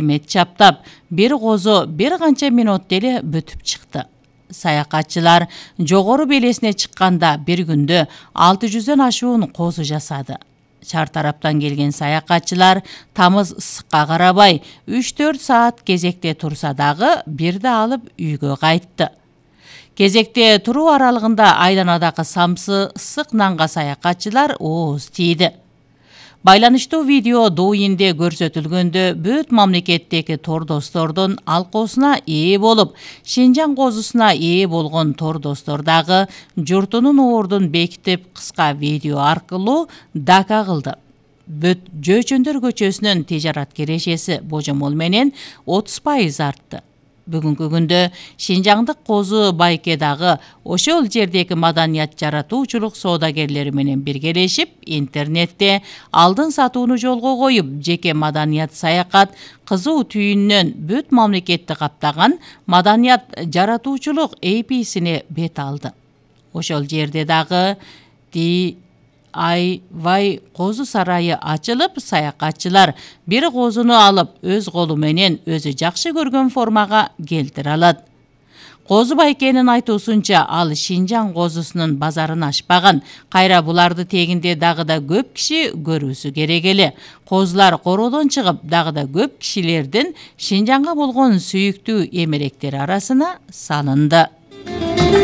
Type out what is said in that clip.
мет чаптап, бир козу бир канча мүнөттө эле бүтүп чыкты. Саякатчылар жогору белесине чыкканда бир күндө 600дөн ашуун козу жасады. Чар тараптан келген саякатчылар тамыз ысыкка карабай 3-4 саат кезекте турса дагы бирди алып үйгө кайтты. Кезекте туруу аралыгында айланадагы самсы ысык нанга саякатчылар ооз тийди. Байланыштуу видео Douyin'де көрсөтүлгөндө бүт мамлекеттеги тордостордун алкоосуна ээ болуп, Шинжаң козусуна ээ болгон тордостор дагы журтунун ордун бекитип кыска видео аркылуу дака кылды. Бүт Жөөчөндөр көчөсүнүн тижарат кирешеси божомол менен 30% артты. Бүгүнкү күндө Шинжаңдык козу байке дагы ошол жердеги маданият жаратуучулук соодагерлери менен биргелешип, интернетте алдын сатууну жолго коюп, жеке маданият саякат кызуу түйүнүнөн бүт мамлекетти каптаган маданият жаратуучулук AP'сине бет алды. Ошол жерде дагы DIY козу сарайы ачылып, саякатчылар бир козуну алып өз колу менен өзү жакшы көргөн формага келтире алат. Козу байкенин айтуусунча, ал Шинжаң козусунун базарын ачпаган, кайра буларды тегинде дагы да көп киши көрүүсү керек эле. Козулар короодон чыгып, дагы да көп кишилердин Шинжаңга болгон сүйүктүү эмеректери арасына салынды.